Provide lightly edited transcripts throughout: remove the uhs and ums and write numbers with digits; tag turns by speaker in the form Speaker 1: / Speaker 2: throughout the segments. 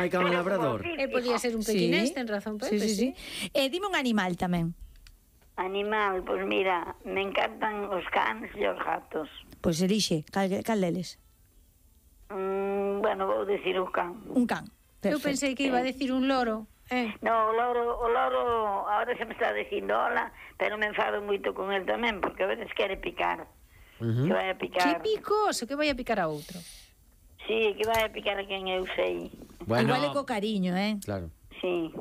Speaker 1: hai cama labrador?
Speaker 2: Podía ser un pequinés, ten razón, Pepe.
Speaker 3: Sí. Dime un animal tamén.
Speaker 4: Animal, pois mira, me encantan os cans e os gatos.
Speaker 3: Pois elixe, cal deles?
Speaker 4: Bueno, vou dicir o can.
Speaker 3: Un can.
Speaker 2: Eu pensei que iba a decir un loro.
Speaker 4: No, o loro, ahora se me está dicindo hola, pero me enfado moito con el tamén, porque a veces quere picar. Que vai a picar.
Speaker 2: Que picoso, que vai a picar a outro.
Speaker 4: Sí, que vai a picar a quen eu sei.
Speaker 3: Igual é co cariño,
Speaker 1: Claro.
Speaker 4: Sí.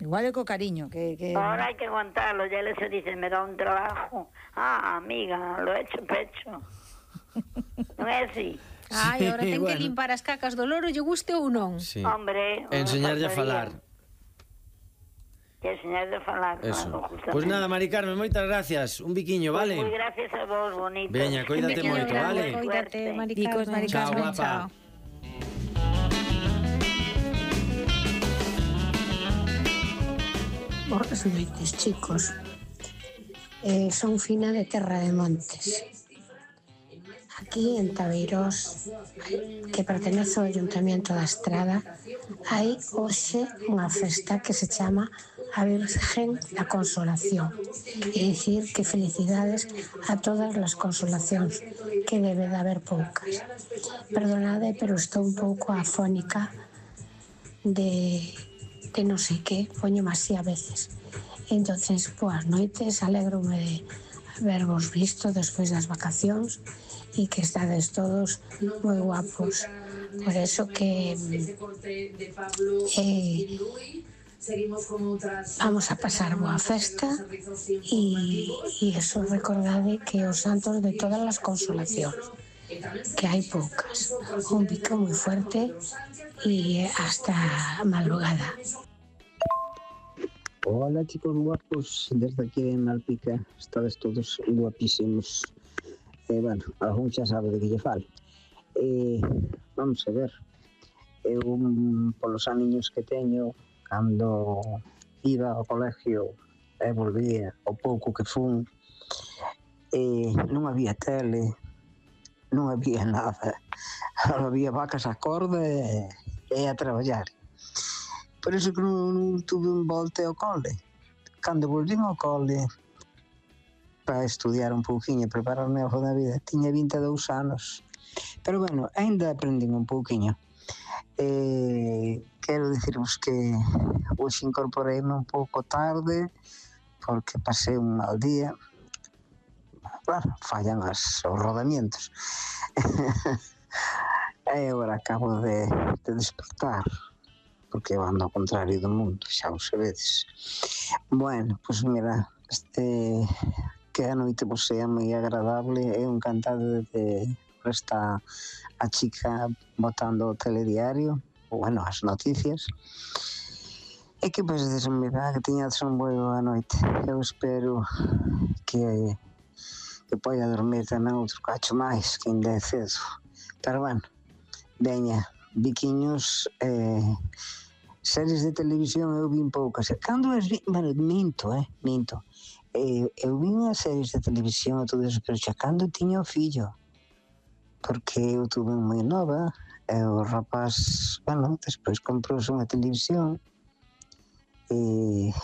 Speaker 3: Igual é co cariño, que...
Speaker 4: Ahora hai que aguantarlo, ya le se dice, me da un trabajo. Amiga, lo he hecho pecho. Non é así?
Speaker 2: Ai, ahora ten que limpar as cacas do loro, lle guste ou non.
Speaker 1: Sí.
Speaker 4: Hombre,
Speaker 1: enseñarlle a falar.
Speaker 4: Que enseñarlle a falar.
Speaker 1: Eso. Pois nada, Mari Carmen, moitas gracias. Un biquiño, vale?
Speaker 4: Moi gracias a vos, bonito.
Speaker 1: Veña, coídate moito, vale?
Speaker 2: Coídate, Mari
Speaker 3: Bicos, Mari
Speaker 1: Chao,
Speaker 3: Carmen,
Speaker 1: guapa.
Speaker 5: Boas noites, chicos. Son Fina de Terra de Montes. Aquí en Tabeirós, que pertenece ao Ayuntamiento da Estrada, hai hoxe unha festa que se chama a Virgen da Consolación. É dicir que felicidades a todas as consolacións, que debe de haber poucas. Perdonade, pero estou un pouco afónica de non sei que, poño así a veces. Entonces, boas noites, alégrome de habervos visto despois das vacacións e que estades todos moi guapos. Por eso que vamos a pasar boa festa e eso, recordade que os santos de todas as consolacións, que hai poucas. Un pico moi fuerte e hasta madrugada.
Speaker 6: Hola chicos guapos, desde aquí de Malpica, estades todos guapísimos. Bueno, algún xa sabe de que lle falo. Vamos a ver, eu polos aniños que teño, cando iba ao colegio e volvía o pouco que fun, non había tele, non había nada, había vacas a corda e a traballar. Por iso que non tuve un volte ao cole. Cando volvín ao cole para estudiar un pouquiño e prepararme algo da vida, tiña 22 anos. Pero bueno, ainda aprendín un pouquiño. Quero dicirvos que hoxe incorporeime un pouco tarde porque pasei un mal día. Claro, fallan os rodamientos. E agora acabo de despertar, porque eu ando ao contrario do mundo, xa o sabedes. Bueno, pois mira, que a noite vos sea moi agradable, eu encantado de esta a chica botando o telediario, ou bueno, as noticias, e que pois desmira, que tiñades un boa noite. Eu espero que poida dormir tamén outro cacho máis, que ainda é cedo. Pero bueno, veña, biquiños, series de televisión eu vin poucas. Cando as vi, bueno, minto. Eu vin as series de televisión e todo eso, pero xa cando tiña o fillo, porque eu tuve moi nova, e o rapaz, bueno, despois comprouse unha televisión,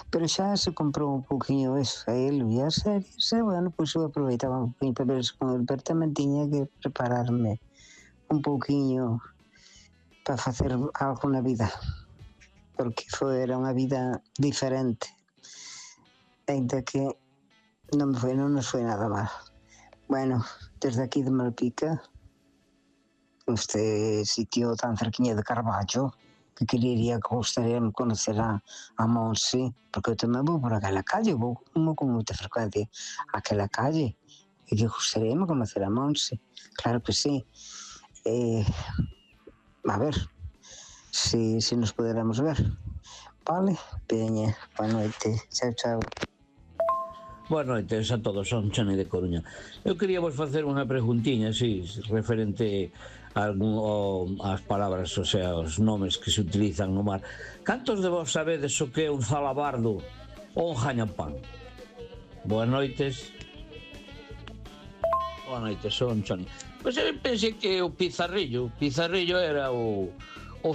Speaker 6: pero xa se comprou un pouquinho eso, a ele e as series, e bueno, pois eu aproveitaba un pouquinho para ver eso con ele, pero tamén tiña que prepararme un pouquinho para facer algo na vida, porque era unha vida diferente, ainda que non nos foi nada mal. Bueno, desde aquí de Malpica, este sitio tan cerquiña de Carballo, que gostaría de conocer a Monse, porque eu tamén vou por aquela calle, vou con moita frecuencia aquela calle, e que gostaría de conocer a Monse, claro que sí. A ver, si nos poderamos ver. Vale, veña, boa noite, chao.
Speaker 7: Boas noites a todos, son Chani de Coruña. Eu quería vos facer unha preguntiña, así, referente ás palabras, o sea, os nomes que se utilizan no mar. Cantos de vos sabedes o que é un zalabardo ou un jañapán? Boas noites. Boas noites, son Chani. Pois eu pensei que o Pizarrillo era o fillo